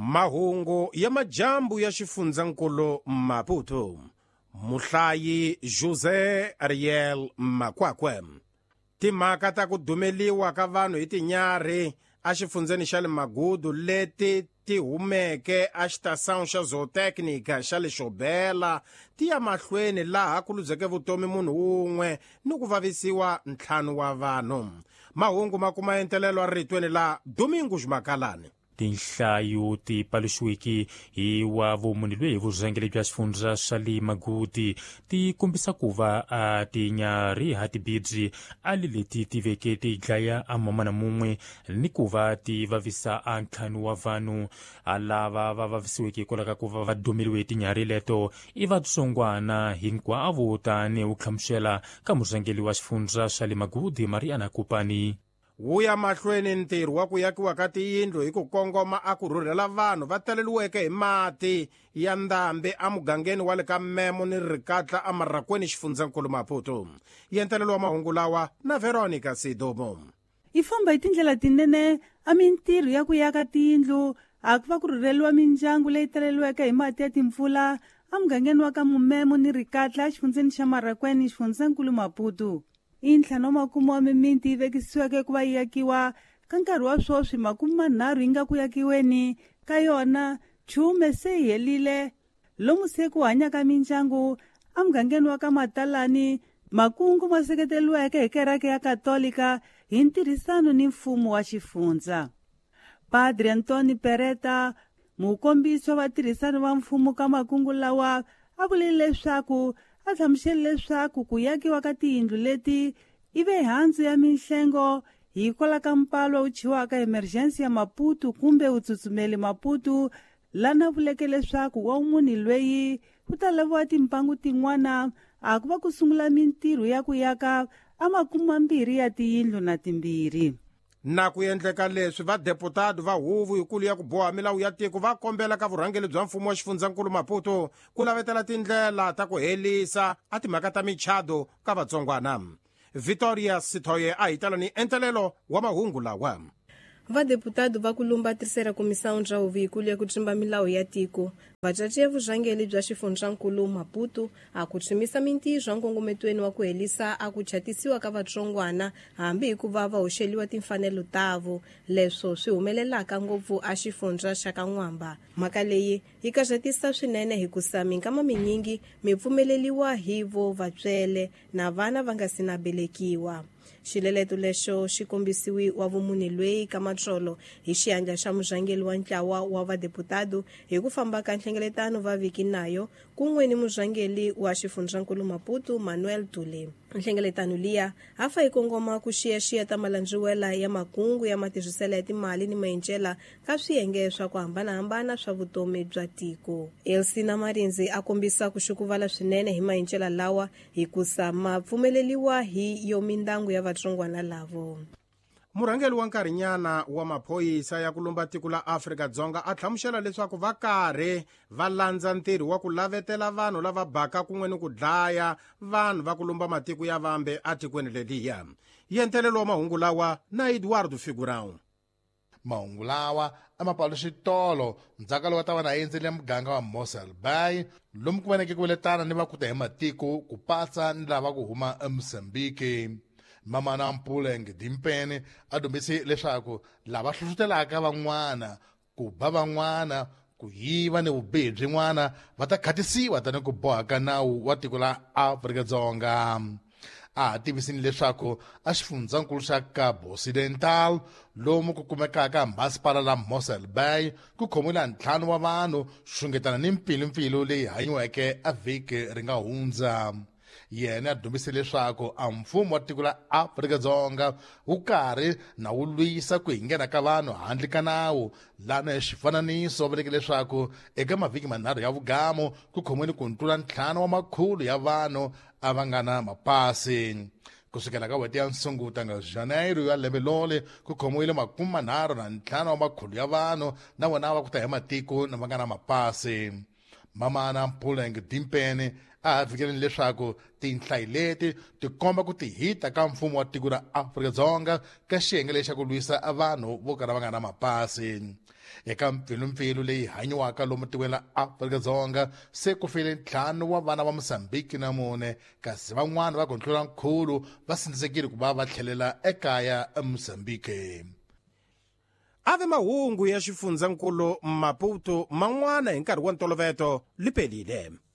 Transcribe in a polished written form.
Mahungu ya majambu ya xifundzankulu Maputo. Muhlayi José Ariel Makwakwe. Timhaka ta ku dumeliwa ka vanhu hi tinyarhi exifundzeni xa le Magudu leti ti humeke a xitação xa zootecnica xa le Xobela ti ya mahlweni laha ku ludzeke vutomi munhu wun'we ni ku vavisiwa 5 wa vanhu. Mahungu ma kuma entelelo eritweni la Domingos Makalani. Tinhlayo ti paluxiweke hi wa vumunhu lweyi hi vurhangeri bya xifundza xa le Magudi ti kombisa ku va a tinyarhi ha tibidzi a le leti ti veke ti dlaya a mamana mun'we ni ku va ti vavisa a 5 wa vanhu. A lava va vavisiweke hikwalaho ka ku va va dumeliwe hi tinyarhi leto i vatsongwana hinkwavo, tanihi ku hlamusela ka murhangeri wa xifundza xa le Magudi Mariana Kupani. Wu ya mahlweni ntirho wa ku yakiwa ka tiyindlu hi ku kongoma a ku rhurhela vanhu va taleliweke hi mati ya ndhambi emugangeni wa le ka Memo ni Rikatla eMarakweni xifundzankulu Maputo. Yentelelo wa mahungu lawa na Veronica Sidomo. Yi famba hi tindlela tinene a mintirho ya ku yaka tiyindlu a ku va ku rhurheliwa mindyangu leyi taleliweke hi mati ya timpfula emugangeni wa ka Mumemo ni Rikatla exifundzeni xa Marakweni xifundzankulu Maputo. I 5 wa makume wa mimiti yi vekisiweke ku va yi yakiwa ka nkarhi wa sweswi 30 yi nga ku yakiweni ka yona 10 se yi helile lomu se ku hanyaka mindyangu emugangeni wa ka Matalani. Makungu ma seketeriweke hi kereke ya Katolika hi ntirhisano ni mfumo wa xifundza. Padre Antoni Pereta, mukombisi wa vatirhisani va mfumo ka makungu lawa, a vule leswaku a hlamusele leswaku ku yakiwa ka tiyindlu leti i ve handzu ya minhlengo hikwalaho ka mpalo wu chiwaka emergency ya Maputo kumbe wu tsutsumeli Maputo, lana vuleke leswaku wa munhu lweyi ku ta laviwa timpangu tin'wana a ku va ku sungula mintirho ya ku yaka a 20 ya tiyindlu na 2. Na ku endleka leswi vadeputado va huvo yikulu ya ku boha milawu ya tiko va kombela ka vurhangeri bya mfumo wa xifundzankulu Maputo ku lavetela tindlela ta ku helisa a timhaka ta michado ka vatsongwana. Victoria Sithoye a hi tala ni entelelo wa mahungu lawa. Vadeputado va kulumba terceira comissão bya huvo yikulu ya ku tsimba milawu ya tiko vacaci ya vurhangeri bya xifundzankulu Maputo a ku tshimisa mintirho nkongometweni wa ku helisa a ku chatisiwa ka vatsongwana hambi hikuva va hoxeliwa timfanelo tavo, leswo swi humelelaka ngopfu a xifundza xa ka N'wamba. Mhaka leyi yi karatisa swinene hikusa minkama minyingi mi pfumeleliwa hi vo vatswele na vana va nga si na belekiwa. Xileleto lexo xi kombisiwi wa vumunhu lweyi ka matsolo hi xiandla xa murhangeri wa ntlawa wa vadeputado hi ku famba ka nhlengeletano va viki nayo kun'we ni murhangeri wa xifundzankulu Maputo Manuel Tule. Nhlengeletano liya a fa yi kongoma ku xiyaxiya ta malandziwela ya makungu ya matirhiselo ya timali ni maencela ka swiyenge swa ku hambanahambana swa vutomi bya tiko. Elsina Marinzi a kombisa ku xukuvala swinene hi maencela lawa hikusa ma pfumeleliwa hi yo mindangu ya vatsongwana lavo. Murhangeri wa nkarhinyana wa maphorisa ya ku lumba tiko la Afrika-Dzonga a hlamusela leswaku va karhi va landza ntirho wa ku lavetela vanhu lava baka kun'we ni ku dlaya vanhu va ku lumba matiko ya vambe etikweni leliya. Yentelelo wa mahungu lawa na Eduardo Figurão. Mahungu lawa a ma paluxi tolo ndzhaka lowu ta va na endzele muganga wa Mossel Bay lomu ku vaneke ku veletana ni va kuta hi matiko ku patsa ni lava ku huma eMozambique. Mamana Mpuleng Dimpene a dumbise leswaku lava hlohlotelaka van'wana ku ba van'wana ku yiva ni vubihi byin'wana va ta khatisiwa tani ku boha ka nawu wa tiko la Afrika-Dzonga. A tivisini leswaku a xifundzankulu xa Cabo Occidental lomu ku kumekaka masipala la Mossel Bay ku khomiwile 5 wa vanhu xungetana ni mpfilumpfilu leyi hanyiweke a vhiki ri nga hundza. Yena a dumbise leswaku a mfumo wa tiko la Afrika-Dzonga wu karhi na wu lwisa ku hinghena ka vanhu handle ka nawu. Lana hi xifananiso va vuleke leswaku eka mavhiki 3 ya vugamu ku khomiwile ku tlula 5 wa makhulu ya vanhu a va nga na mapasi. Kusukela ka n'hweti ya Sunguta nga Janeiro ya lembe lole ku khomiwile 35 wa makhulu ya vanhu na vona va ku ta hi matiko na va nga na mapasi. Mamana Mpuleng Dimpene a fikeleni leswaku tinhlayo leti ti komba ku tihita ka mfumo wa tiko ra Afrika-Dzonga ka xiyenge lexi xa ku lwisa vanhu vo kala va nga na mapasi. Eka mpfilumpfilu leyi hanyiwaka lomu tikweni la Afrika-Dzonga, se ku file 5 wa vana va Mosambiki na 4, kasi van'wana va ku tlula nkhulu va sindzisekile ku va va tlhelela ekaya eMosambiki. Ave mahungu ya xifundzankulu Maputo man'wana hi nkarhi wa ntoloveto lipelile.